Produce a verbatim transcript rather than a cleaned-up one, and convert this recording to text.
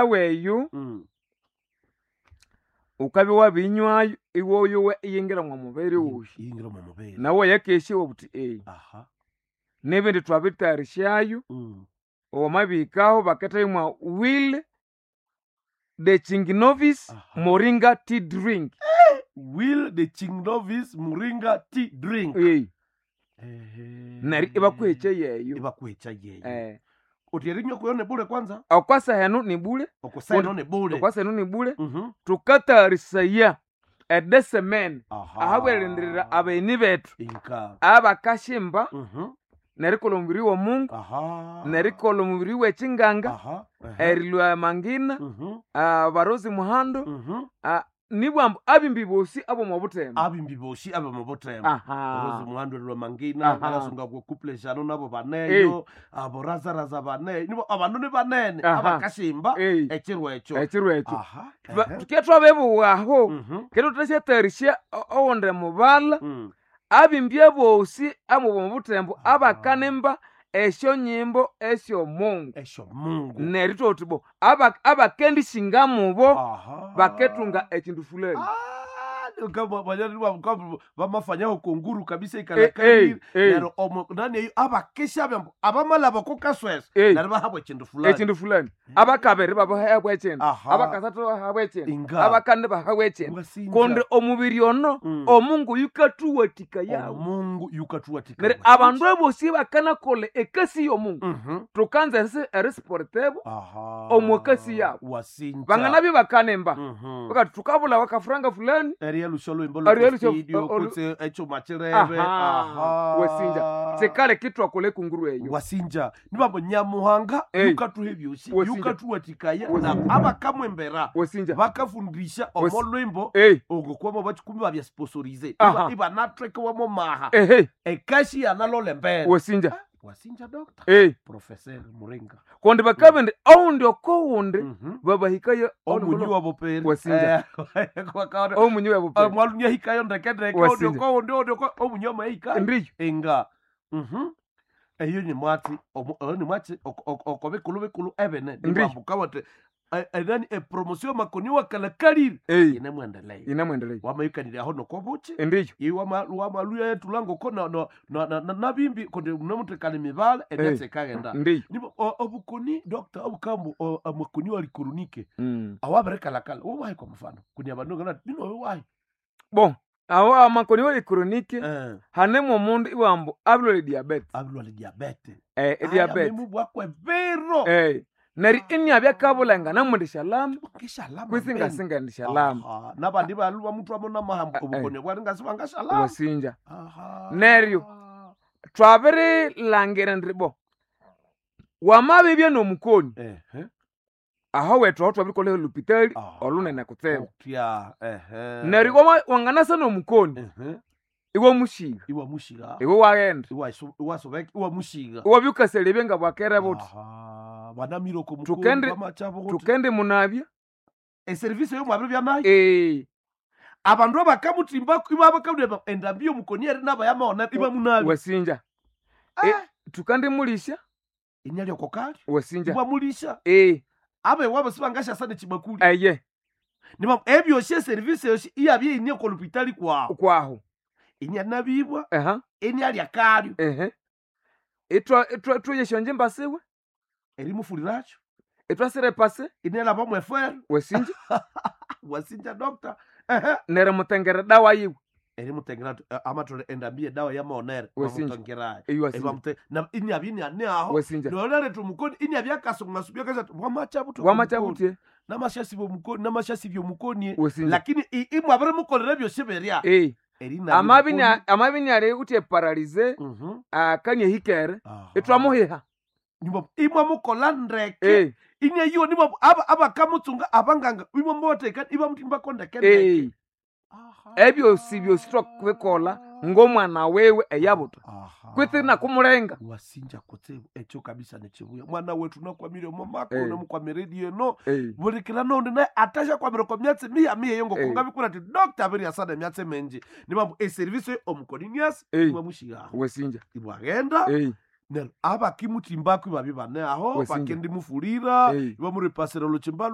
Aweyu Mm. ukabya wabinywayo iwoyowa iyingira mwa mubiri wuyu Iyingira omo mubiri. nawe yakesya wabuthi eyi Aha. n'ebindi twabitayarishayo Mm. wamabihikaho bakethayo mwa will the chinginovis Aha. moringa tea drink Will the Chingnovis Muringa tea drink. Ei, Ehe. neryo ibakuhekya yeyo Ibakuhekya yeyo. Eh, Uthi erinywa kuyo ni bule kwanza? okwasa henu ni bule Okuseno ni bule. okwasa henu ni bule Mhm. tukatayarisaya edesemene Aha. ahabwerindirira abagheni bethu Inka. abakashimba Mhm. nerikolha omubiri w'omungu Aha. nerikolha omubiri w'ekinganga Aha. Ehe. erilwa mangina Mhm. abarozi muhando Mhm. ah, nibwambu abimbi bosi ab'omu butembo Abimbi boshi abe mu butembo. Rozi aha muhando lwa mangina Aha. nakasunga ku couple jano nabo baneyo abo razaraza baneyo nibo abandu ni banene Aha. abakashimba Ei, ekiro ekyo. ekiro ekyo Aha. Tuba- Ehe. tuke twabibuwaho Mhm. kero tutashyatayarisya owundi mubala Mm. abimbi abosi abomu butembo Aha. abakanimba esyonyimbo esyomungu Esyo Mungu. neryo thwauthi bo aba- abakendishinga mubo Aha. baketunga ekindu fulani Ah, kama banyari bamafanyaho konguru kabisa Eh, ikalakali eh, eh. neryo omo nani eyo abakesha byambo abamala bakokaswesa Eh. neryo bahabwa ekindu fulani ekindu fulani abakabiri babahabwa ekindu Aha. abakasathu bahabwa ekindu Inga. abakandi bahabwa ekindu Wasinja. kundi omubiri ono Mm. omungu yukathuwathika yawo omungu yukathuwathika neryo abandu abosi bakanakolha ekasi y'omungu Mhm. thukanza erisi- erisiportebo Aha. Omwakasi yabo. wasinja banganabye bakanimba Mhm. bakati thukabula wakafuranga fulani eriya lusha olwimbo Eriya lusha- lw'estudio, olu- kutse echuma chirebe Aha. Wasinja. sikale kitwakola ekunguru eyo wasinja nibambo nyamuhanga Ei. yukathuha ebyosi Wasinja. yukathuwathikaya na Wasinja. abakamwembera wasinja bakafundisha Was- omo lwimbo ei ogokwamo bakikumi babyasponsorise Aha. ibanathwekewamo maha ehe ekashi yanalole mbere wasinja wasinja doctor ei professor muringa kundi bakabindi oundi okowundi Mhm. babahikayo omunyi wabo peri Wasinja. omunyi wabo pe mwalunya hikayo ndekendeke Wasinja. ondioko ondioko omunyi wamahikayo ndiyo inga mhm eyo ni mwatsi omu- oyo ni mwatsi oko- oko oko bikulu bikulu ebene Ndi. nibambuka enani epromotion makoni wakalakalire ei ine mwendeleye inamwendeleye wamayukanire aho nokobuki ndiyo iwamaluya yetulangoko nabimbi kundi munemutekana emibala emyatsi ekaghenda ndiyo nibo o- obukoni doctor obukambu o- amakoni walikurunike Mm. awabirikalakala wowahi kwa mfano kunia bandu ngana bino wowahi bon awo amakoni wali chronique eh hanemo omundu iwambu abilwele diabetes abilwala diabete eh diabetes bwakwe vero eh neri inyabya kabulanga namundishalama ngishalama kwisi ngasinga ndishalama Aha, nabandi balu bamutwamo namahambo Eh, eh. obukoni bwari ngasi bangashalama wasinja Aha. Neryo. twabirilangira ndi bo wamabibya nomukoni ehe aho wethu aho twabirikolha olupitali Aha. olunene kutsibu Otya, ehe neryo iwe wanganasa nomukoni ehe iwe mushiga iwamushiga iwe waghenda Iwasu- iwasobeka iwamushiga iwabya ukaselebye nga bwakere buthi Aha, banamire oko mukoni Tukende- bamachabo kuti tukende munabya eserivisi eyo mwabiri byanayo ee abandu abakamutimba ibabakamutimba endambi yomukoni eri nabayamaona ibamunabi wasinja Ah. E, tukandimulisha inyali oko kali wasinja ibamulisha ee abe wabo sibangashasa nechibakuli eye niba ebyosi eserivisi yosi iyabye ine kolupitali kwawo kwaho inyanabibwa aha inyalya kalyo ehe itwa itwa tuyeshonje mbasiwe erimufuliracho itwasire pase inelaba mwefere wasinja wasinja doctor ehe nerimutengera dawa yiwe erimutengera amatole endambi yedawa yamaonere Wasinja. bamutengerayo eyi wasinja Ebamute- na inyabye inyane aho wasinja noleretha omukoni inyabye akasungasubya kasati wamachabuthi wamachabutie namashasibya omukoni namashasibya omukoni wasinja lakini i- imwabirimukolera ebyosi birya ee Erinabya amabi omukoni. nya- amabi nyali utie paralize Mhm. akanye hikere Aha. itwamuhiha Nimwa- imwamukola ndeke ee ineyiwo nimwa aba- abakamutsunga abanganga imwamubatheka ibamutimbako ndeke ndeke ee ebyosi byosi twakubikola ng'omwana wewe eyabuta Aha. kwitsi nakumulenga wasinja kutsibu ekyo kabisa nekibuya mwana wetu nakwamire omomako Eh. namukwamire eno ee bulikira noundi naye atashakwamire kwa myatsi miya miya Eh. ngokungabikura ati dokta abiriasana emyatsi mingi nibambu eserivisi omukoninias Eh. imwamushigaho wasinja ibwaghenda ee Neryo abakimutsimbako ibabya ibane aho Wesinja. bakendimufurira Eh. ibamuripasira olhukimba